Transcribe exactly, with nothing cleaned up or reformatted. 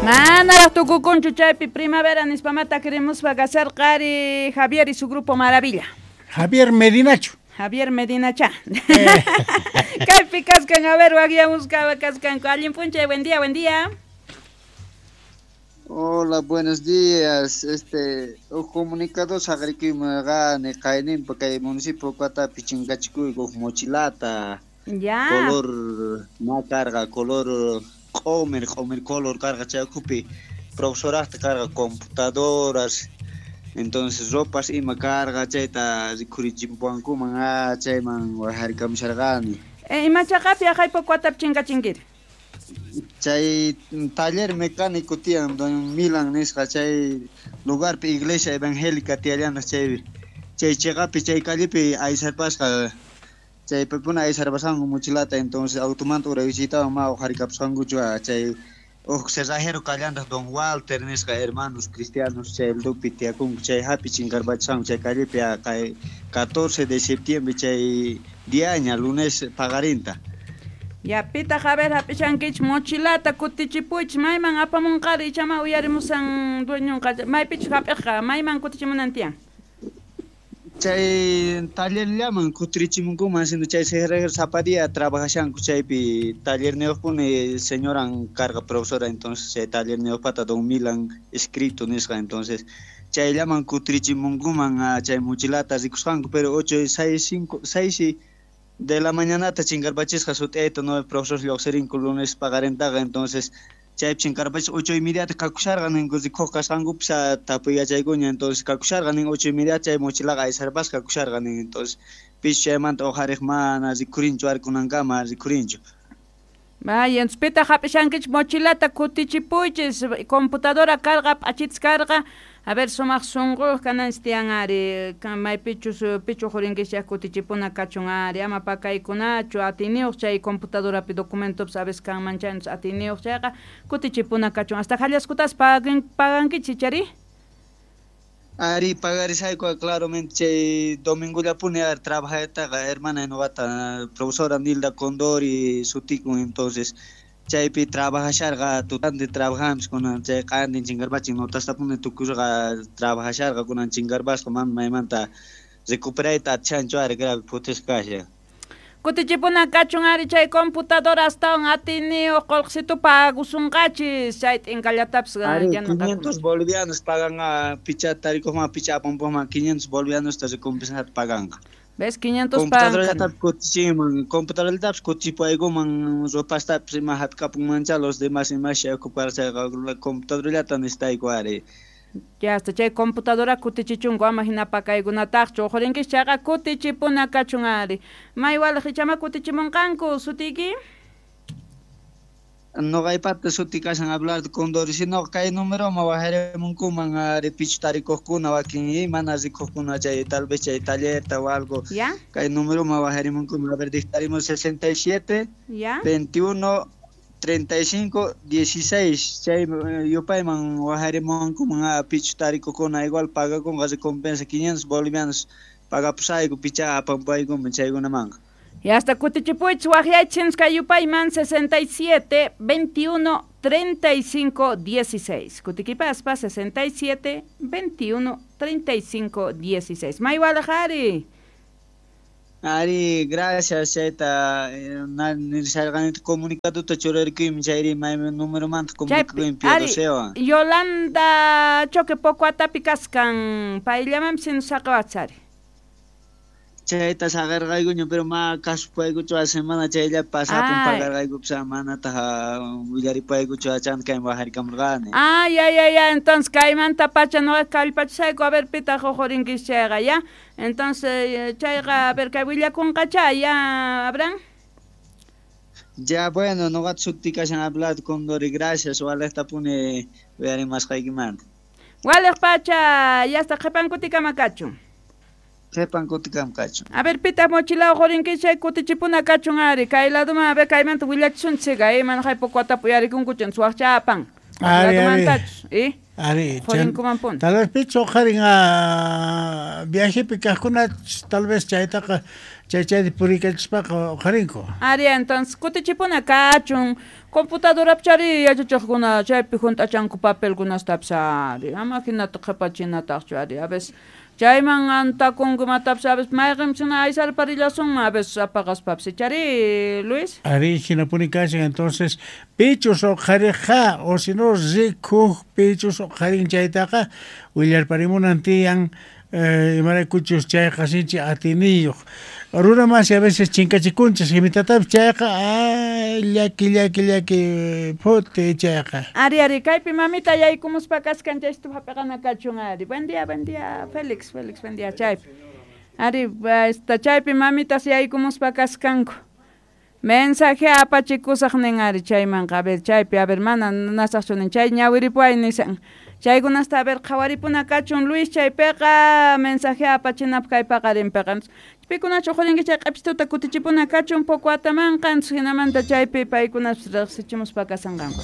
Manaraq tukukunchu chaypi primavera nispamata queremos kasarqari Javier y su grupo Maravilla. Javier Medinacho. Javier Medinacha. Eh. Kaypi kaskan, a ver, waqyamusqa kaskanku. Allin p'unchay, buen día, buen día. Hola, buenos días. Este, o comunicador saqrikuymunarqani qayninpa kay municipio Pocwatapi chinkachikuyku huk mochilata. Ya. Color ma karqa, color q'umir, q'umir color karqa chay ukhupi profesoraqta karqa computadoras, entonces ropas ima karqa chayta rikhurichimpuwankuman ah chayman wajarikamusharqani. Eh, ima chaqapi aqay Pocwatapi chinkachinkiri? Chay taller mecánico tiyan don Milan nisqa chay lugarpi iglesia evangélica tiyallana chay chay chaqapi chay callepi aysarpasqa chaypipuna aysarpasqanku mochilata entonces automanta uraysitawan ma uqharikapusqankuchu chay huk cerrajero kallantaq don Walter nisqa hermanos cristianos chay lupi tiyakunku chay hapi chinkarpachisqanku chay callepi kay catorce de septiembre chay diaña lunes paqarinta. Ya pitaq a ver hap'ishankichik mochilata kutichipuychik mayman apamunqari ichama uyarimusan dueñonqa maypichus hap'iqqa mayman kutichimunan tiyan. Chay tallerllaman kutirichimunkuman sino chay cerrajero sapa día trabajashanku chaypi tallerniyuqpuni señoran karqa profesora entonces chay tallerniyuqpata don Milan escrito nisqa entonces chayllaman kutirichimunkuman chay mochilata rikusqanku pero ocho seis cinco seis de la mañanata chinkarpachisqa sut'ayta nueve profesor lluqsirinku lunes paqarintaqa entonces chaypi chinkarpachis ocho y mediata kakusharqa ninku rikuq kasqankupis tapuy yachaykuña entonces kakusharqa nin ocho y media chay mochilaqa aysarpasqa kakusharqa nin entonces pis chaymanta uqhariq mana rikhurinchu ari kunankama rikhurinchu. Vaya, entonces pitaq hap'ishankichik mochilata kutichipuychis computadora karqa p'achitas karqa a ver sumaq sunquyuq kananchis tiyan ari maypichus pichu uqhurinkichik kutichipuna kachun ari ama pakaykunachu atiyniyuq chay computadorapi documentopas a veces kanman chay atiyniyuq chayqa kutichipuna kachun hasta hallaskutas pagan pagankichik chari. Ari pagarisayku claramente chay domingollapuni ari trabajaytaqa hermana nuqata profesora Nilda Condori sutikun entonces chaypi trabajasharqa tutante trabajamos kunan chay q'antin chinkarpachin notastapuni tukusqa trabajasharqa kunan chinkarpasqa mana maymanta recuperayta atishanchu ari grave phutisqa kashan. Kutichipuna kachun ari chay computadora astawan atiyniyuq qullqisitu pagusunqachis chay t'inkallatapas ari quinientos bolivianos pagan picha tarikuqman picha apanpuqman quinientos bolivianosta recompensata paganqa. ¿Ves? quinientos computadorallatapis kutichinman, computadorallatapis kutichipaykuman ropastapis ima hap'ikapunmancha los demás imasha ocupar chayqa computadorallata necesitayku ari. Ya hasta chay computadora kutichichunku ama hina pakaykunataqchu uqhurinkichik chayqa kutichipuna kachun ari. May waliq ichama kutichimunqanku sutiyki? Nuqaypata suti kashan Abelardo Condori sino kay numeroman wajarimunkuman ari pichu tarikuqkuna wakin mana rikuqkuna chay tal vez chay tallerta o algo. ¿Ya? Kay numeroman wajarimunkuman a ver dictaremos sesenta y siete ¿Ya? veintiuno treinta y cinco dieciséis chay yupayman wajarimunkuman pichu tarikuqkuna igual pagakunqa recompensa quinientos bolivianos pagapusayku picha apampaykuman chaykunamanqa. Y hasta kutichipuychis waqyaychis kay yupayman sesenta y siete veintiuno treinta y cinco dieciséis. Kutikipaspa sesenta y siete veintiuno treinta y cinco dieciséis. May waliq ari. Ari, gracias chayta nirsharqanita comunicadota churarkuymi chayri maymi numeromanta comunicakuymi Piadosewan. Yolanda Choque Pocwatapi kaskan payllamanpis saqawachis ari. Chayta saqarqaykuña pero ma kasupaykuchu a semana chayllapi pasapun pagarqaykupis manataq willaripaykuchu achanta kayman wajarikamurqani. Ah, ya, ya, ya, entonces kaymanta pacha nuqa kallpachasayku a ver pitaq uqhurinkichik chayqa ya. Entonces chayqa a ver kay willakunqacha ya, Abraham. Ya, bueno, nuqata suti kashan Abelardo Condori, gracias, waliqtapuni uyarimasqaykimanta. Waliq pacha, ya hasta qhipan kutikama kachun. Qhipan kutikama kachun. A ver, pitaq mochila uqhurinkichik chay kutichipuna kachun ari, kay laduman a ver kaymanta willachisunchik eh, mana hay Pocwatapi uyarikunkuchu waqcha apan. Ari, Ladumantachus, eh? Ari, Qorinkumanpuni. Tal vez pichu uqharin a viajepi kajkuna tal vez chaytaqa chay chayta puriykachispaqa uqharinku. Ari, entonces kutichipuna kachun computadora chari yachachiqkuna chaypi junt'achanku papelkunastapis ari ama hinata qhipachinataqchu ari a veces chayman antakunku imatapis a veces mayqinchina aysarparillasunman a veces apaqaspapis chari Luis. Ari hinapuni kashan entonces pichus uqhariqqa o si no rikuq pichus uqharin chaytaqa willarparimunan tiyan eh, imaraykuchus chayqa sinchi atiniyuq runa masi a veces chinkachikunchis imitatapis chayqa ay llaki llaki llaki phuti chayqa. Ari ari kaypi mamita yaykumuspa kaskan chaystu hap'iqana kachun ari. Buen día, buen día, Félix, Félix, buen día chaypi. Ari esta chaypi mamitas yaykumuspa kaskanku. Mensaje apachikusaq nin ari chaymanqa a ver chaypi a ver mana nasaqchu nin chay ñawiripuay nisan. Chaykunasta a ver qhawaripuna kachun Luis chaypiqa mensaje apachinapaq kay paqarinpiqa. Pikunachu uqharinki chay q'apistuta kutichipuna kachun poco atamanqa hinamanta chaypi paykunas riqsichimuspa kasanqanku.